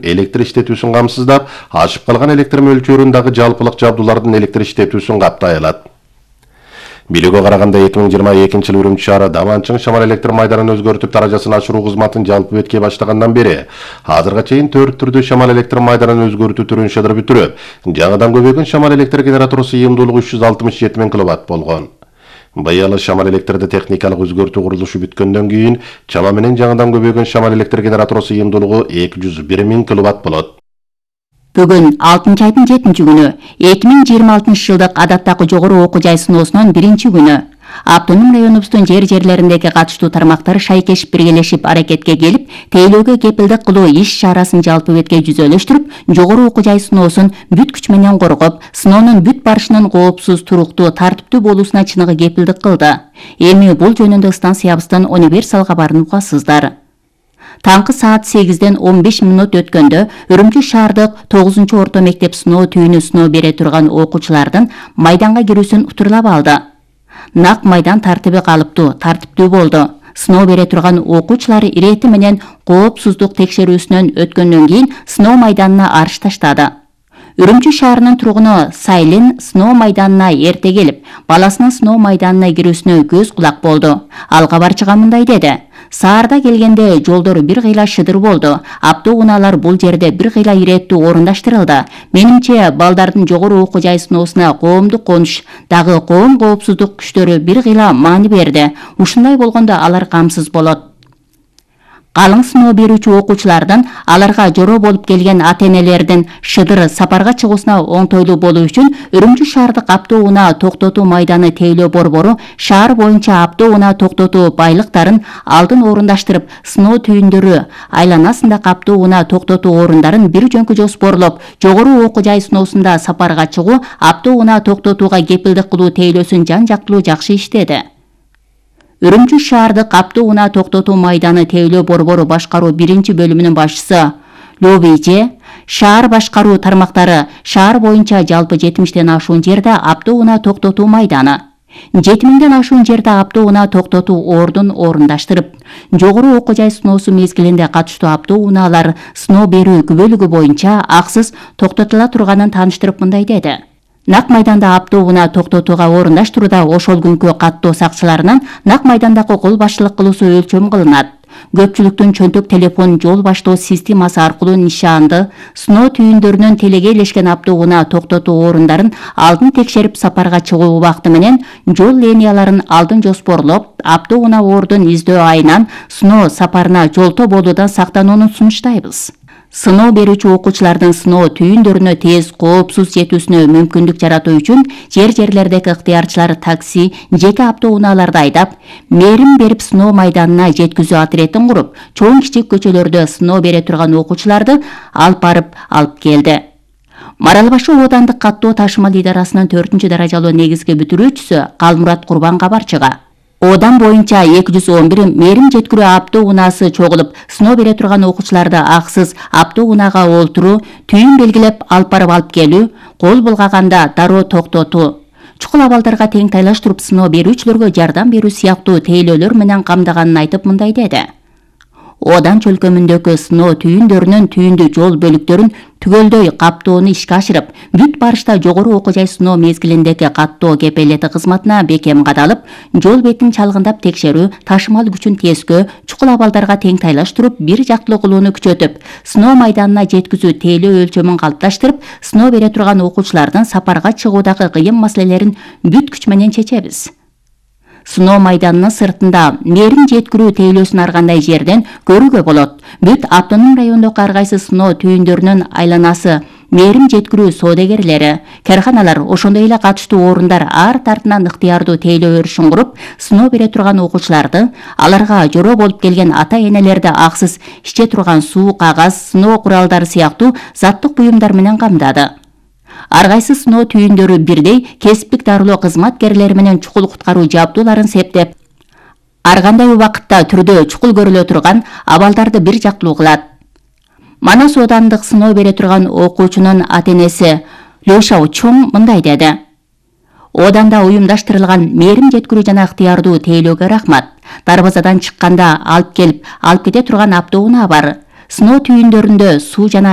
электр иштетүүсүн камсыздап, ашып калган электр мөлчөрүндагы жалпылык жабдуулардын электр иштетүүсүн каптай алат. Билүүгө караганда 2022-жылы Үрүмчү шаары Даванчың шамал электр майданын өзгөртүп даражасын ашыруу кызматын жалпы бетке баштагандан бери азырга чейин 4 түрдүү шамал электр майданын өзгөртүү түрүн шыдырып бүтүрүп, жаңыдан көбөйгөн шамал электр генератору сыйымдуулугу 367 000 киловатт болгон. Быйыл шамал электрде техникалык өзгөртүү курулушу бүткөндөн кийин чама менен жаңыдан көбөйгөн шамал электр генератору сыйымдуулугу 201 000 киловатт болот. Бүгүн 6-айдын 7-күнү 2026 жылдык адаттагы жогору окуу жай сыноосунун 1-күнү. Автоном районубуздун жерлериндеги катыштуу тармактар шайкешип биргелешип аракетке келип, тейлөөгө кепилдик кылуу иш-чарасын жалпы бетке жүзөлөштүрүп, жогору окуу жай сыноосун бүт күч менен коргоп, сыноонун бүт барышынын коопсуз, туруктуу, тартиптүү болуусуна чыныгы кепилдик кылды. Эми бул жөнүндө станциябыздын универсал кабарын угасыздар. Таңкы саат 8-ден 15 мүнөт өткөндө Үрүмчү шаардык 9-орто мектеп сыноо түйүнү сыноо бере турган окуучулардын майданга кирүүсүн утурлап алды. Нак майдан тартиби калыптуу, тартиптүү болду. Сыноо бере турган окуучулар ирети менен коопсуздук текшерүүсүнөн өткөндөн кийин сыноо майданына арыш таштады. Үрүмчү шаарынын тургуну Сайлин сыноо майданына эрте келип, баласынын сыноо майданына кирүүсүнө көз кулак болду. Ал кабарчыга мындай деди: "Саарда келгенде жолдор бир кыйла шыдыр болду. Автоунаалар бул жерде бир кыйла иреттүү орундаштырылды. Менимче, балдардын жогору окуу жай сыноосуна коомдук конуш, дагы коом коопсуздук күчтөрү бир кыйла маани берди. Ушундай болгондо алар камсыз болот." Калың сыноо берүүчү окуучулардын аларга жороо болуп келген ата-энелердин шыдыр сапарга чыгуусуна оңтойлуу болуу үчүн Үрүмчү шаардык автоунаа токтотуу майданы тейлөө борбору шаар боюнча автоунаа токтотуу байлыктарын алдын орундаштырып, сыноо түйүндөрү айланасындагы автоунаа токтотуу орундарын бир жөнкү жоспорлоп, жогору окуу жай сыноосунда сапарга чыгуу, автоунаа токтотууга кепилдик кылуу тейлөөсүн жан-жактылуу жакшы иштеди. Үрүмчү шаардык автоунаа токтотуу майданы тейлөө борбору башкаруу 1-бөлүмүнүн башчысы Ловиже, шаар башкаруу тармактары шаар боюнча жалпы 70ден ашуун жерде автоунаа токтотуу майданы, 7000ден ашуун жерде автоунаа токтотуу ордун орундаштырып, жогору окуу жай сыноосу мезгилинде катыштуу автоунаалар сыноо берүү күбөлүгү боюнча аксыз токтотула турганын тааныштырып мындай деди: "Нак майданда автоунаа токтотууга орундаштырууда ошол күнкү каттоо сакчыларынын нак майдандагы кол башчылык кылуусу өлчөм кылынат. Көпчүлүктүн чөнтөк телефон жол баштоо системасы аркылуу нишанды, сыноо түйүндөрүнөн телеге илешкен автоунаа токтотуу орундарын алдын текшерип сапарга чыгуу убакыты менен жол линияларын алдын жоспорлоп, автоунаа ордун издөө айынан сыноо сапарына жолто болуудан сактанууну сунуштайбыз. Сыноо берүүчү окуучулардын сыноо түйүндөрүнө тез, коопсуз жетүүсүнө мүмкүндүк жаратуу үчүн жерлердеги ыктыярчылар такси, жеке автоунааларды айдап, мээрим берип сыноо майданына жеткизүү отрядын куруп, чоң-кичик көчөлөрдө сыноо бере турган окуучуларды алып барып алып келди. Марал башы оодандык каттоо ташымал идарасынын 4-даражалуу негизги бүтүрүүчүсү Калмурат Курбан кабарчыга: Одан боюнча 211 мээрим жеткирүү автоунаасы чогулуп, сыноо бере турган окуучуларды аксыз автоунаага олтуруу, түйүн белгилеп алып барып алып келүү, кол булгаганда дароо токтотуу, чукул абалдарга тең тайлаштырып сыноо берүүчүлөргө жардам берүү сыяктуу тейлөөлөр менен камдаганын айтып мындай деди: "Одан чөлкөмүндөгү сыноо түйүндөрүнүн түйүндү жол бөлүктөрүн түгөлдөй каптоону ишке ашырып, бүт барышта жогору окуу жай сыноо мезгилиндеги каттоо кепелети кызматына бекем кадалып, жол бетин чалгындап текшерүү, ташымал күчүн тескөө, чукул абалдарга тең тайлаштырып, бир жактылуу кылууну күчөтүп, сыноо майданына жеткизүү тейлөө өлчөмүн калыпташтырып, сыноо бере турган окуучулардын сапарга чыгуудагы кыйын маселелерин бүт күч менен чечебиз. Сыноо майданынын сыртында мээрим жеткирүү тейлөөсүн ар кандай жерден көрүүгө болот. Бүт автоном райондогу ар кайсы сыноо түйүндөрүнүн айланасы, мээрим жеткирүү соодагерлери, карханалар, ошондой эле катыштуу орундар ар тартынан ыктыярдуу тейлөө өрүшүн куруп, сыноо бере турган окуучуларды, аларга жороо болуп келген ата-энелерди аксыз иче турган суу, кагаз, сыноо куралдары сыяктуу заттык буюмдар менен камдады. Ар кайсы сыноо түйүндөрү бирдей кесиптик дарылоо кызматкерлери менен чукул куткаруу жабдууларын септеп, ар кандай убакытта түрдө чукул көрүлө турган абалдарды бир жактылуу кылат. Манас оодандык сыноо бере турган окуучунун ата-энеси Лёша Чоң мындай деди: "Ооданда уюмдаштырылган мээрим жеткирүү жана ыктыярдуу тейлөөгө рахмат. Дарбазадан чыкканда алып келип, алып кете турган автоунаа бар. Сыноо түйүндөрүндө суу жана